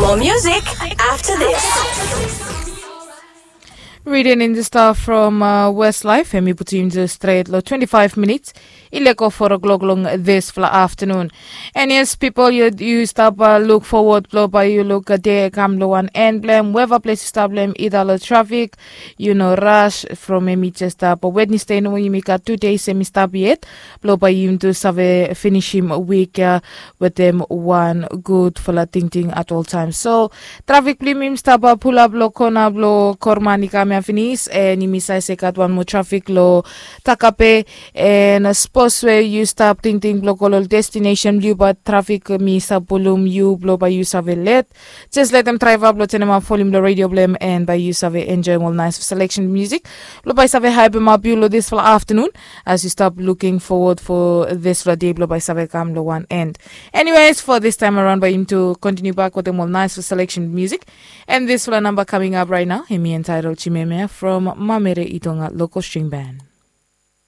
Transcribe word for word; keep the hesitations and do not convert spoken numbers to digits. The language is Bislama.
More music after this. Reading in the stuff from uh, Westlife, and we put him to straight lo twenty-five minutes. Ileko four o'clock long this fla afternoon. And yes, people, you, you stop uh, look forward blo by you look a day come lo one end blem wherever place you stop blem either lo traffic, you know, rush from emi just up Wednesday no you make two days emi stop yet. Blo by you to save finish him week uh, with them one good fla ting ting at all times. So traffic blim him stop uh, pull up lo corner blo korman i kam ya finish and him i sai se gat one more traffic lo takape. And uh, suppose where you stop ting ting blo kolo destination blo but traffic mi sa pulum you blo by you save let. Just let them drive up lo tenem up volume lo radio blem and by you save enjoy all nice selection music. Blo by save hype him up you lo this fla afternoon as you stop looking forward for this fla day blo by save come lo one end. Anyways, for this time around by him to continue back with them all nice selection music. And this fla number coming up right now him entitled Chimeme from Mamere Itonga Local String Band.